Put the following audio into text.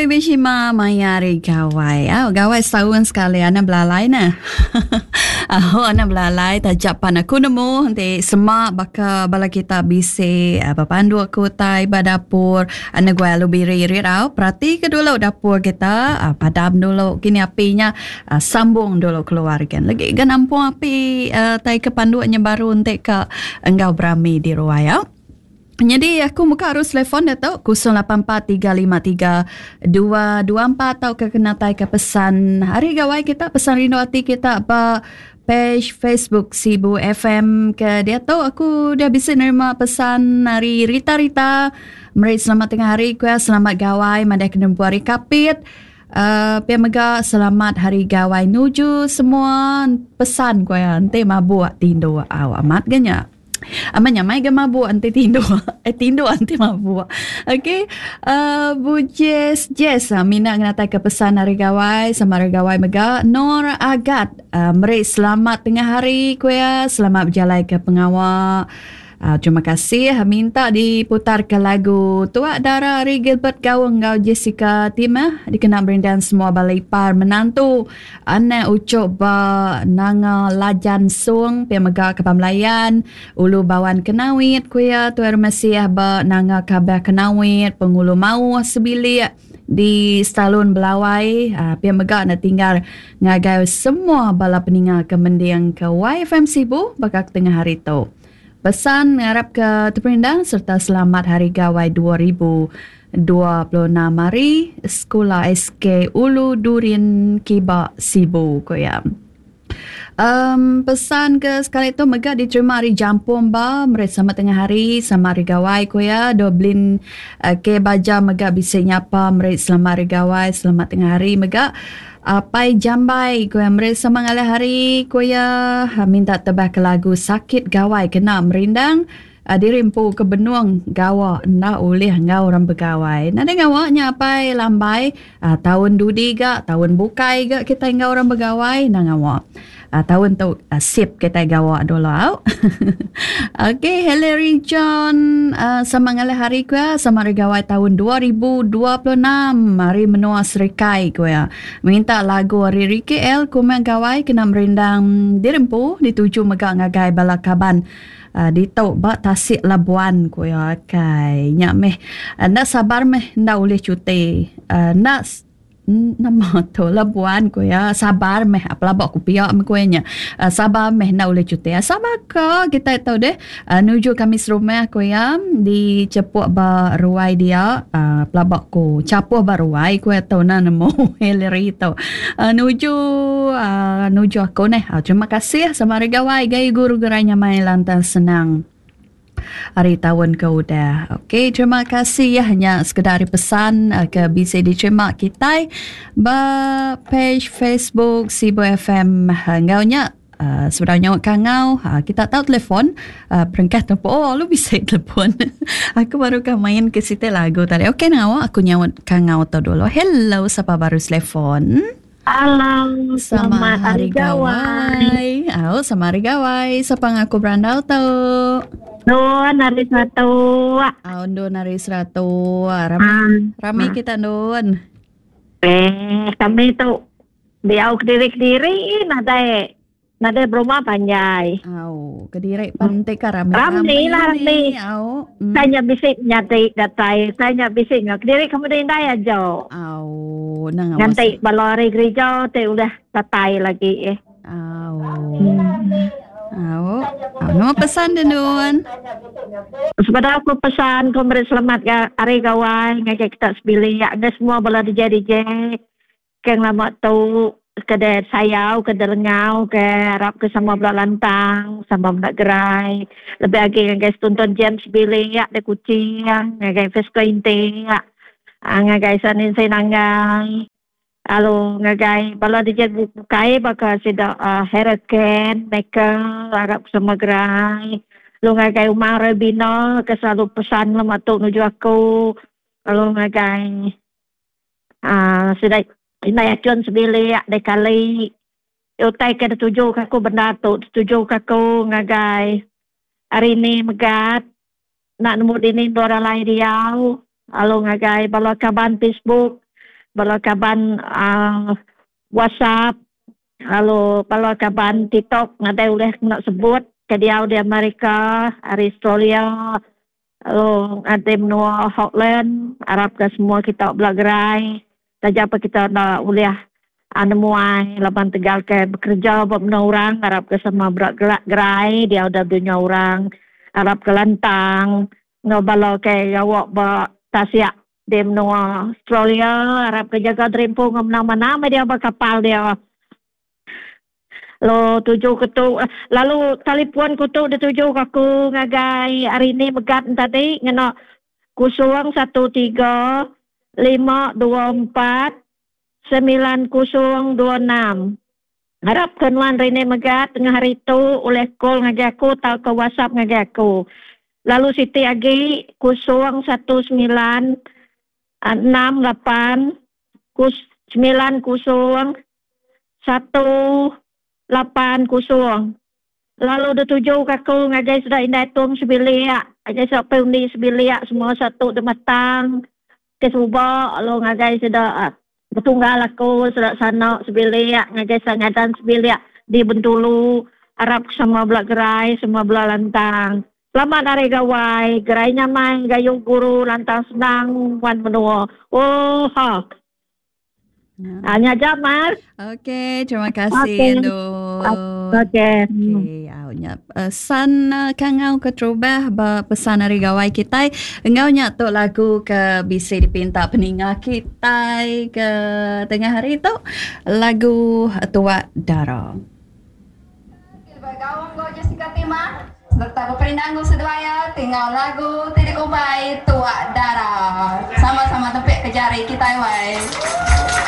Baby Shima maya hari gawai. Au gawai setahun sekali anak belalai nah. Au anak belalai taja pan aku nemu enti sema baka bala kita bisi bepanduk ke utai ba dapur anak guai alu biri rit au perati ke dulu dapur kita padam dulu kini api nya sambung dulu keluar kan. Legi ga nampung api tai ke panduk nya baru enti ka enggau berami di ruai au. Nyadi aku muka arus telefon diatu 084353 224 tauka kena tai ke pesan hari gawai kita pesan rindu ati kita ba page Facebook Sibu FM ke diatu aku dah bisi nerima pesan ari Rita Rita meri selamat tengah hari ku selamat gawai madai kena hari kapit uh, pia mega selamat hari gawai nuju semua pesan ku ya enti mabuk tindu au amat ga nya. Amat nyamai ga mabuk enti tinduk. Eh tinduk enti mabuk. Okey. Uh, Bu Jess, Jess uh, mina ngenatai ke pesan hari gawai sama hari gawai mega Nur Agat uh, meri selamat tengah hari ku ya, selamat berjalai ke pengawa. Uh, terima kasih minta diputar ke lagu Tuak Dara ari Gilbert Gaung enggau Jessica Timah dikena merindang semua bala ipar menantu Anak ucuk ba Nanga Lajan Sung pia mega Kaban Belayan, Ulu Bawan Kenawit ku iya Tuai Rumah Siah ba Nanga Kabah Kenawit, Pengulu Mauh sebilik di Stalun Belawai pia mega enda tinggal ngagai semua bala peninga ke mending ke YFM Sibu baka ke tengah hari tu. Pesan ngarapka teperindang sereta selamat Hari Gawai 2026 ari Sekula SK Ulu Durin Kiba Sibu, ku iya. Um, pesan ke sekali tu mega diterima ari Jampung ba meri selamat tengah hari sama hari gawai ku iya. Doblin uh, ke Baja mega bisi nyapa meri selamat hari gawai selamat tengah hari mega. Apai Jambai ku iya meri sama ngalih hari ku iya minta tebah ke lagu Sakit Gawai kena merindang diri empu ke benung gawa enda ulih enggau orang begawai. Nadai ngawa nya apai lambai taun dudi ga taun bukai ga kitai enggau orang begawai enda ngawa. Taun tu sip kitai gawa dulu au. Okey Hillary John sama ngalih hari ku iya sama hari gawai taun 2026 ari menua Serikai ku iya. Minta lagu ari Ricky L Kumang Gawai kena merindang diri empu dituju mega ngagai bala kaban ditu ba Tasik Labuan ku iya. Kai nya meh enda sabar meh enda ulih cuti enda Nama tu Labuan ku iya sabar meh pelaba ku pia meh ku iya nya. Sabar meh enda ulih cuti. Sabar ka kitai tu deh nuju kami serumah ku iya di chepuk ba ruai dia pelaba ku chapuh ba ruai ku iya tu nah nemu Hillary tu. Nuju nuju aku neh. Terima kasih sama hari gawai gayu guru gerai nyamai lantang senang. Hari taun ke udah. Okey, terima kasih ya nya sekeda ari pesan eh, ke bisi diterima kitai ba page Facebook Sibu FM eh, enggau nya uh, sebedau nyaut kangau uh, kita tahu telefon uh, berengkah tempo oh lu bisa telefon aku baru ka main ke siti lagu tadi okey ngawa aku nyaut kangau tu dulu hello siapa baru telefon Halo, selamat hari gawai. Au, selamat hari gawai. Sapa ngaku berandau tu? Nun hari seratu. Au, Nun hari seratu. Rami, um, rami kita Nun. Eh, kami tu diau kediri-kediri nadai Nadai berumah panjai. Au, kediri pan ti ka rami. Rami lah rami. Au. Mm. Saya nya bisi nyadi datai, saya nya bisi nya kediri kamu deh indai aja. Au, nang Nganti bala ari gereja ti udah datai lagi eh. Au. Hmm. Au. Au, nama pesan deh Nun? Sebedau aku pesan, aku meri selamat ga hari gawai ngagai kita sebilik, ngagai semua bala DJ DJ. Ke ngelama tu ke deh sayau ke deh lengau ke arap ke sama bela lantang sama bela gerai lebih agi ngagai setuntun James Bilik deh Kuching ngagai Fesco Inti ngagai Sanin Sinanggai lalu ngagai bala DJ bukai baka sida Harold Ken Michael arap ke sama gerai lalu ngagai Umang Rebina ke selalu pesan ngelama tu nuju aku lalu ngagai Aaa sida indai achun sebilik deh kali utai ke dituju ka aku bendar tu dituju ka aku ngagai hari ni megat enda nemu dini endur alai diau lalu ngagai bala kaban Facebook. bala kaban uhh WhatsApp lalu bala kaban TikTok nadai ulih kena sebut ke diau di Amerika ari Australia lalu ngagai menua Holland arap ka semua kita bela gerai taja pa kita enda ulih nemuai laban tegal ke bekereja ba menua orang arap ka sama bela gerai diau da dunya orang arap ka lantang enggau bala ke gawa ba tasik di menua Australia arap ke jaga diri empu enggau menang manah meh dia ba kapal dia. Lalu tuju ke tu lalu talipun ku tu dituju ke aku ngagai hari ni megat ne tadi ngena 013 524 9026. Arap ke nuan rini mega tengah hari tu ulih call ngagai aku tauka whatsapp ngagai aku. Lalu siti agi 019 68 90 180. Lalu dituju ke aku ngagai sida indai tum sebilik, ngagai sida undi sebilik semua satu demetang ke suba lalu ngagai sida Betunggal aku sida sana sebilik ngagai sida ngadan sebilik di Bentulu arap semua bela gerai semua bela lantang. Selamat hari gawai gerai nyamai gayu guru lantang senang wan menua. Ooha. Ha nya aja mar. Okey, terima kasih okay. Endu. Okey. Okey, au nya pesan kangau keterubah ba pesan hari gawai kitai. Enggau nya tu lagu ke bisi dipinta peninga kitai ke tengah hari tu lagu Tuak Dara. Begaum enggau Jessica Timah sereta beperindang enggau seduai iya ti enggau lagu ti dikumbai Tuak Dara. Sama-sama tempik ke jari kitai wai.